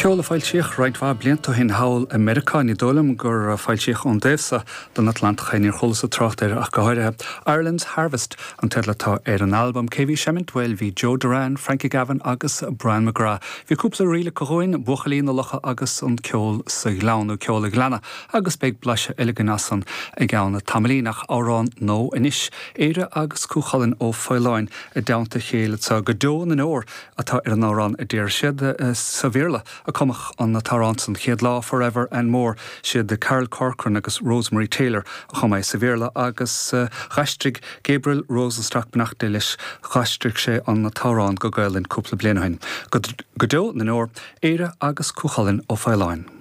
Ceol a foilsíodh roinnt mhaith blianta ó shin thall i Meiriceá, ní dóigh liom gur foilsíodh ón dtaobh so den Atlantach é, níor chualasa trácht air ach go háirithe. Ireland's Harvest an teideal atá ar an albam. Cé bhí ag seimint? Bhuel, bhí Joe Doran, Frankie Gavin agus Brian McGrath. Bhí cúpla ríl acu dhúinn, Buachaillí na Locha agus An Ceol sa Ghleann, nó Ceol an Ghleanna, agus beidh blaiseadh eile againn as san i gceann tamaillín. Ach amhrán nua anois, Éire agus Cú Chulainn Ó Faoláin i dteannta a chéile anseo go deo na ndeor. atá ar an amhrán a deir siad. Sa Bhéarla a cumadh an t-amhrán san chéad lá, Forever and More. Siad Carol Corcoran agus Rosemary Taylor a chum é sa Bhéarla agus dh'aistrigh Gabriel Rosenstock, beannacht Dé leis, dh'aistrigh sé an t-amhrán go Gaolainn cúpla bliain ó shin. Go deo na ndeor, Éire agus Cú Chulainn Ó Faoláin.